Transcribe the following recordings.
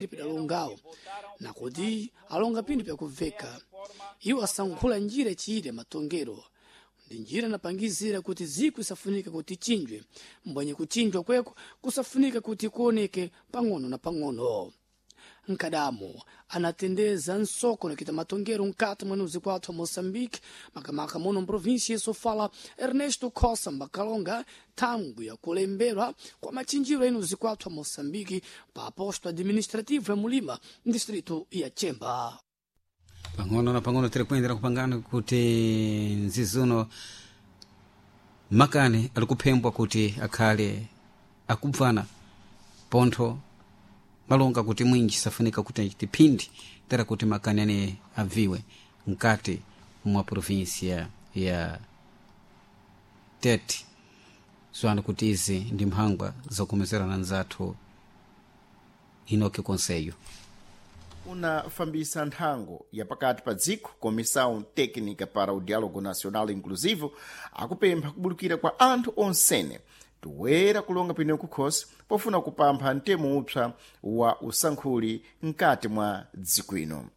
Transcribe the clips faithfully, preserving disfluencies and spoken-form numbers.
Alongawo na kuti alonga pinthu pyakubveka, iwo asankhula njira ichiyire matongero, ndi njira inapangizira kuti ziko isafunika kuti ichinjwe, mbwenye kuchinjwa kweko kusafunika kuti kuoneke pang'ono na pang'ono. Nkadamo anatendeza nsoko nakita matongero mkati mwa nuzi kwathu wa Moçambique, makamaka muno mprovinsia ya Sofala, Ernesto Khosa Mbakalonga, thangwi yakulembera kwa machinjiro enu zikwathu wa Moçambique pa posto administrativo ya Mulima, distrito ya Chemba. Pang'ono na pang'ono tiri kuyendera kupangana kuti nzizuno makani ali kuphembwa kuti akhale akubvana pontho malonga kuti mwinji safunika kuti tiphindi tera kuti makani ane abviwe mkati mwa provinsia ya Tete. Zwanu kuti izi ndi mphangwa zokomezerana nzathu Inoki Conselho Unafambisa nthango ya pakati pa dziko Comissão Técnica para o Diálogo Nacional Inclusivo akupempha kubulukira kwa anthu onsene toera kulonga pino kukhosi pofuna kupampha mtemo upsa wa usankhuli mkati mwa dziko ino.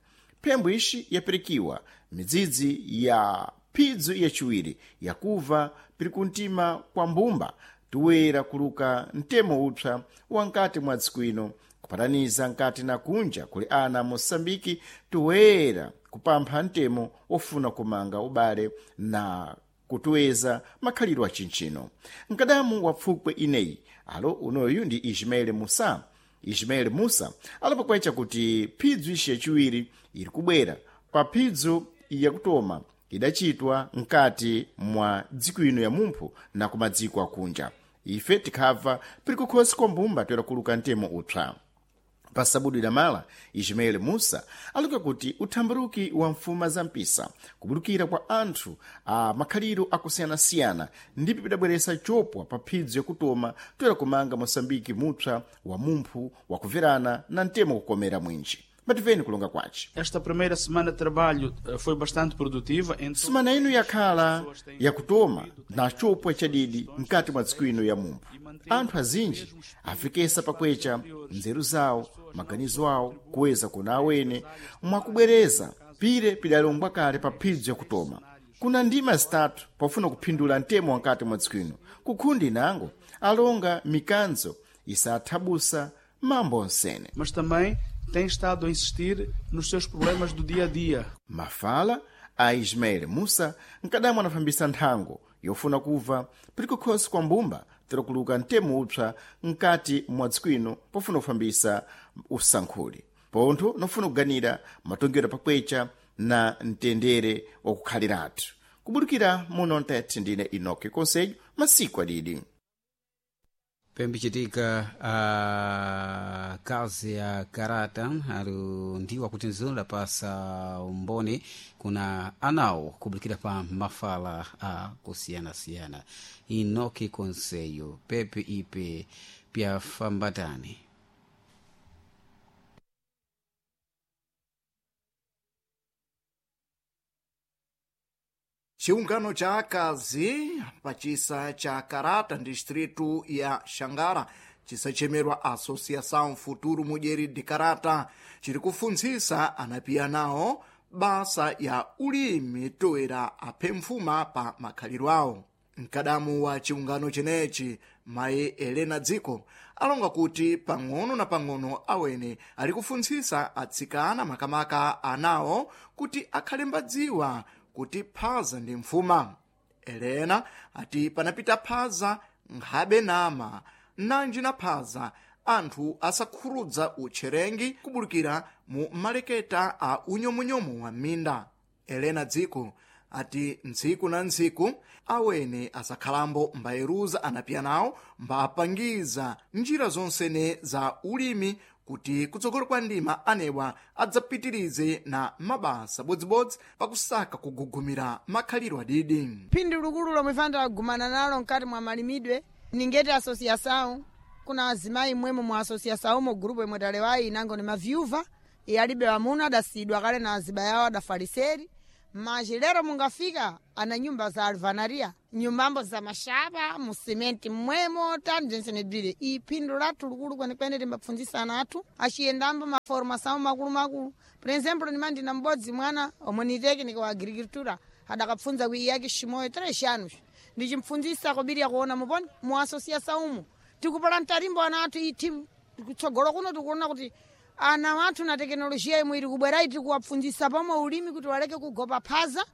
Phembo ixi yapirikiwa midzidzi ya phidzu yaciwiri yakuva piri kumtima kwa mbumba toera kuluka mtemo upsa wa mkati mwa dziko ino kupataniza nkati na kunja kuli ana Moçambike toera kupampha mtemo ofuna kumanga ubale na kutoeza makhalidwe a chinchino. Mkadamu wa pfukwe ineyi alo unoyu ndi Ismael Musa. Ismael Musa alipokwecha kuti phidzu ixi yaciwiri iri kubwera pa phidzu yakutoma idachitwa mkati mwa dziko ino ya mumphu na kumadziko akunja. Ife tikhabva piri kukhosi kwa mbumba toera kuluka mtemo upsa. Pa sabudu idamala Ismael Musa aluka kuti uthambaruki wa mfuma za mpisa kubulukira kwa anthu a makhaliro akusiyanasiyana ndipo pidabweresa chopwa pa phidzu yakutoma toera kumanga Moçambike mupsa wa mumphu wakuverana na mtemo kukomera mwinji. Mativeni kulonga kwace. Esta primeira semana de trabalho foi bastante produtiva. Semana ino yakhala yakutoma na chopwa chadidi mkati mwa dziko ino ya mumphu. Anthu azinji afikesa pakwecha nzeru zawo, maganizo awo kuweza kuna awene mwakubwereza pire pidalongwa kale pa phidzu yakutoma. Kuna ndima zitatu pofuna kuphindula mtemo wankati mwa dziko ino. Kukhundi inango alonga mikanzo isathabusa mambo onsene. Mas também tem estado a insistir nos seus problemas do dia a dia. Mafala a Ismael Musa nkadamwe anafambisa nthango yofuna kuva piri kukhosi kwa mbumba tera kuluka mtemo upsa mkati mwa dziko ino pofuna kufambisa usankhuli pontho nofuna kuganira matongero pakwecha na mtendere wakukhaliratu. Kubulukira muno Ntete ndine Inoki Conselho masiku adidi. Pembichitika a kazi ya karata ali ndiwo akuti nzizo lapasa umboni kuna anawo kubulikira pa mafala a kusiyanasiyana. Inoki Conselho pepe ipe pyafambatani. Chiungano cha akazi pachisa cha Karata distritu ya Xangara chisachemerwa Associação Futuro Mulher de Karata chiri kufunzisa anapiya nawo basa ya ulimi toera aphe mfuma pa makhaliro awo. Mkadamu wa chiungano chenechi mayi Helena Dziko alonga kuti pang'ono na pang'ono awene ali kufunzisa atsikana makamaka anawo kuti akhale mbadziwa kuti phaza ndi mfuma. Helena ati panapita phaza nkhabe nama nanji na phaza anthu asakhurudza utcherengi kubulukira mu maleketa a unyomunyomu wa minda. Helena Dziko ati ntsiku na ntsiku awene asakhalambo mbayeruza anapiya nawo mbapangiza njira zonsene za ulimi kuti kutsogolo kwa ndima anewa adzapitirize na mabasa bodzibodzi pakusaka kugugumira makhaliro adidi. Phindu likulu lomwe fana nalo mkati mwa malimidwe ningeti asosiação kuna azimayi mmwemo mu asosiação mo grupo imwe talewayi inango ni mavyuva iyalibe amuna adasiyidwa kale na azibaya awo adafaliseri. Mas lero mungafika ana nyumba za alvanaria, nyumbambo za mashaba musimenti mmwemo tanjensenebzire. Iphindu lathu likulu kwenekwene timbapfundzisa ana athu aciyendambo maformação makulu makulu. Por exemplo, nimandi na m'bodzi mwana omwe ni técnico wa agricultura adakapfundza ku iyake Shimoyo três anos, ndichimpfundzisa kobiri yakuona muponi mu associação umu tikupala mtarimbo ana athu iti kutsogolo kuno tikuona kuti ana wathu na tekinolojiya imwe iri kubwera iti kuwapfundzisa pomwe ulimi kuti waleke kugopa phaza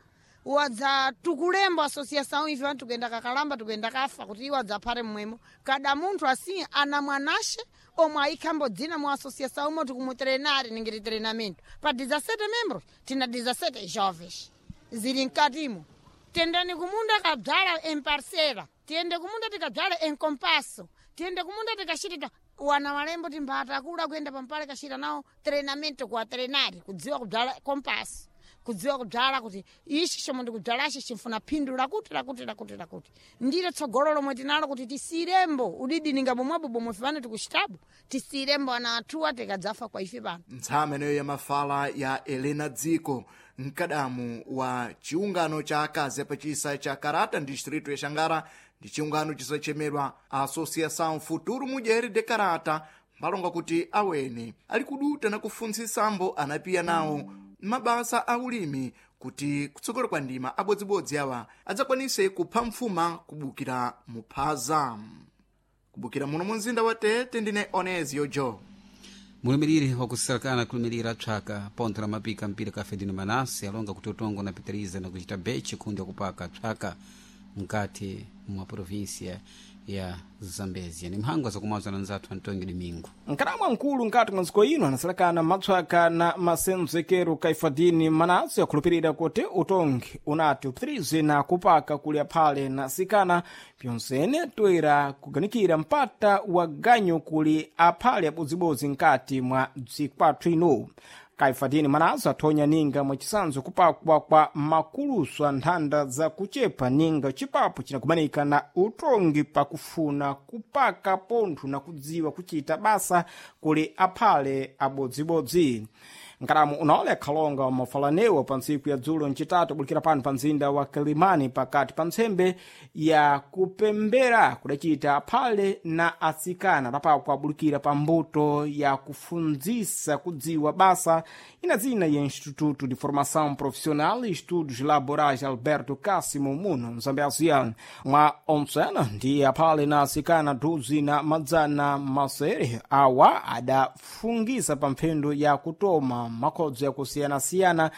wadza tukulembo associação ife vantu tikuyenda kakalamba tikuyenda kafa kuti iwo adzaphate mmwemo. Kada munthu asiye ana mwanashe omwe ayikhambo dzina mu associação umo tikumutrenari ningiti treinamento pa dezessete membros tina dezessete jovens zili mkatimo. Tendani kumunda kabzala em parcela, tiyende kumunda tikabzala em compasso, tiyende kumunda tikachitita wana walembo timbata akula kuyenda pampale kachita nawo treinamento kuwa trenari kudziwa kubzala compasso, kudziwa kubzala kuti ichi chomwe ndikubzalachi chimfuna phindu lakuti lakuti lakuti lakuti. Ndilo tsogolo lomwe tinalo kuti tisiyirembo udidi ninga bomwebo bomwe fane tikuchitabu tisiyirembo ana athuwa tikadzafa kwa ife pano. Ntsama ineyo ya mafala ya Helena Dziko, mkadamu wa chiungano cha akazi apachisa cha Karata distrito ya Xangara, ndi chiungano chisachemedwa Associação Futuro Mulher de Karata, mbalonga kuti awene ali kuduta na kufuntsisambo anapiya nawo mabasa a ulimi kuti kutsogolo kwa ndima abodzibodzi awa adzakwanise kupha mfuma kubukira muphaza. Kubukira muno mu mzinda wa Tete, ndine Onezio Joe. Mulumiriri wakusalakana kulumirira psaka pontho la mapika mpira ka Fedino Manase alonga kuti utongo na pitiriza na kuchita bechi kundi wakupaka psaka mkati mwa província ya Zambezia. Ni mhango zakumwaza na nzathu Antonio Domingo. Nkadamwa mkulu nkati mwa nziko ino anasalakana matswaka na masenzekero Kaifadini Manase akhulupirira kuti utongi unati upitirize na kupaka kuli aphale na sikana pyonsene toera kuganikira mpata wa ganyu kuli aphale abodzibodzi nkati mwa dzikwathu ino. Kaifadini Manase athonya ninga mwachisanzo kupakwa kwa makulusu a nthanda za kuchepa ninga chipapo cinakumanika na utongi pakufuna kupaka pontho na kudziwa kuchita basa kuli aphale abodzibodzi. Nkalamu unaole akhalonga wa mafalanewa pa ntsiku ya dzulo ncitatu bulikira pano pa mzinda wa Kilimani pakati pa ntsembe ya kupembera kudacita aphale na atsikana lapako abulikira pa mbuto ya kufundzisa kudziwa basa ina dzina ya Instituto de Formação Profissional e Estudos Laborais Alberto Cássimo muno mzambezia. Mwa ontsena ndi aphale na atsikana duzi na madzana masere awa adafungisa pa mphendo ya kutoma makhodzo yakusiyanasiyana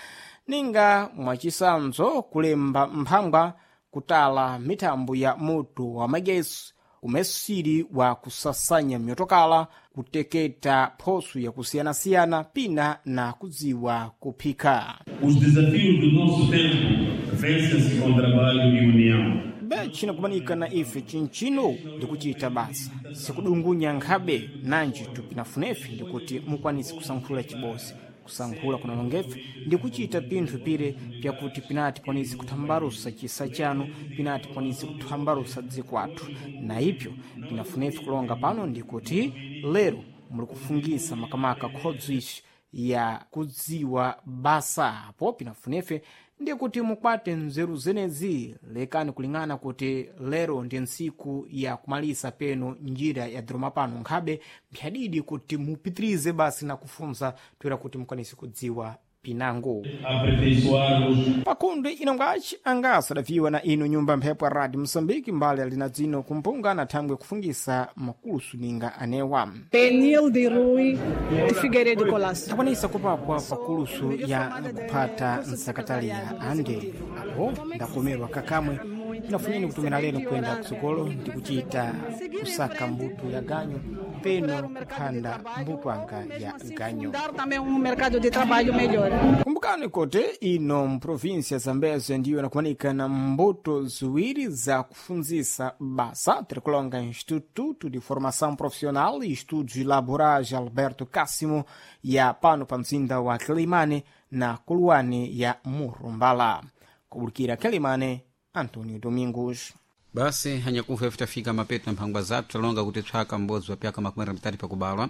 ninga mwachisanzo kulemba mphangwa, kutala mithambo ya moto wa magesi, umesiri wa kusasanya myotokala, kuteketa phoso yakusiyanasiyana pina na kudziwa kuphika. Os desafios do nosso tempo vencem-se com trabalho e união. Bechi nakumanika na ife chinchino ndikuchita basa sikudungunya nkhabe nanji tupinafunefe ndikuti mukwanise kusankhula chibosi kusankhula kunalongefe ndikuchita pinthu pire pyakuti pinati kwanise kuthambalusa chisa chanu, pinati kwanise kuthambalusa dziko athu. Na ipyo pinafunefe kulonga pano ndikuti lero muli kufungisa makamaka khodzo ici ya kudziwa basa apo pinafunefe ndikuti mukwate nzeru zenezi. Lekani kuling'ana kuti lero ndi ntsiku ya kumalisa peno njira ya dhiroma pano nkhabe mphyadidi kuti mupitirize basi na kufunza toera kuti mukwanise kudziwa pinango. Aperfeiçoar-os Pakhundwe inongaci angasa adaviwa na ino nyumba mphepo ya Radio Moçambique mbali alina dzino kumpunga na thangwe kufungisa makulusu ninga anewa. Penilde Rui de Figueiredo Colasso. Takwanisa kupakwa pakulusu ya kuphata nsakatali ya ande apo ndakomerwa kakamwe inafunyeni kutumira lero kuyenda kutsogolo ndi kuchita kusaka mbuto ya ganyu peno kuphanda mbuto anga ya ganyu. Fundar também um mercado de trabalho melhor. Kumbukani kuti ino mprovinsia ya Zambezia ndiyo inakumanika na mbuto ziwiri za kufunzisa basa tirikulonga Instituto de Formação Profissional e Estudos Laborais Alberto Cássimo ya pano pa mzinda wa Quelimane na Kuluane ya Murumbala. Kubulikira Quelimane, Antonio Domingos. Basi anyakufa ife tafika mapeto na mphangwa zathu talonga kuti tswaka m'bodzi wa pyaka makumi atatu pakubalwa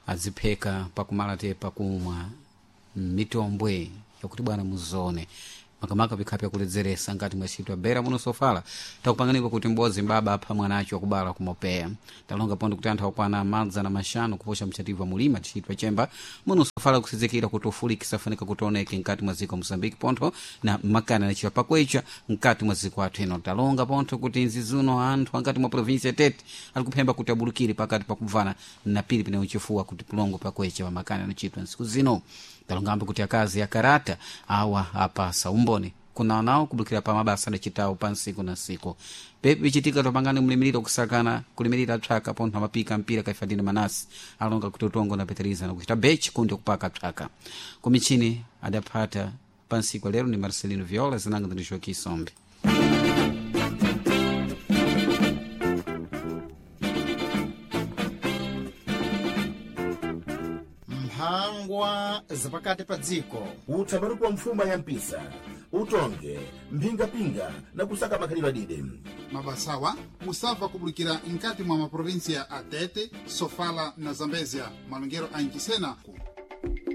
adzipheka pakumala te pakumwa mitombwe yakuti bwana muzone Makamaka vikhapi akuledzeresa ngati mwacitwa bera muno sofala. Takupanganikwa kuti m'bodzi mbaba apha mwanacho akubala kumopeya. Talonga pondo kuti anthu akwana madza na maxanu kuposha mchativu mulima tichitwa chemba muno sofala kusizikira kuti ufulikisa afunika kuti oneke mkati mwa ziko Moçambique pontho na makana nachiwa pakwecha mkati mwa ziko athu ino. Talonga pontho kuti nzizuno anthu angati mwa provinsi ya Tete ali kuphemba kuti abulukire pakati pakubvana na pili pene uchifuwa kuti pulongo pakwecha pamakana anachitwa nsiku zino. Talongambo kuti akazi akarata awa apasa umboni kuna nawo kubulukira pa mabasa adacitawo pa nsiku na nsiku. Pepi ichitika topangani mlimiriro kusakana kulimirira psaka pontho amapika mpira kaifadini manasi alonga kuti utongo na peteriza na kuchita bechi kundi kupaka psaka kumichini adaphata pa nsiku lero ni Marcelino Viola zinanga ndi Joaquim Sombe. Mphangwa zapakati pa dziko. Utsabaruku wa mfuma ya mpisa utonge mphingapinga na kusaka makhalidwe adide. Mabasawa musabva kubulikira nkati mwa maprovinsia a Tete, Sofala na Zambezia, malongero a Inchisena.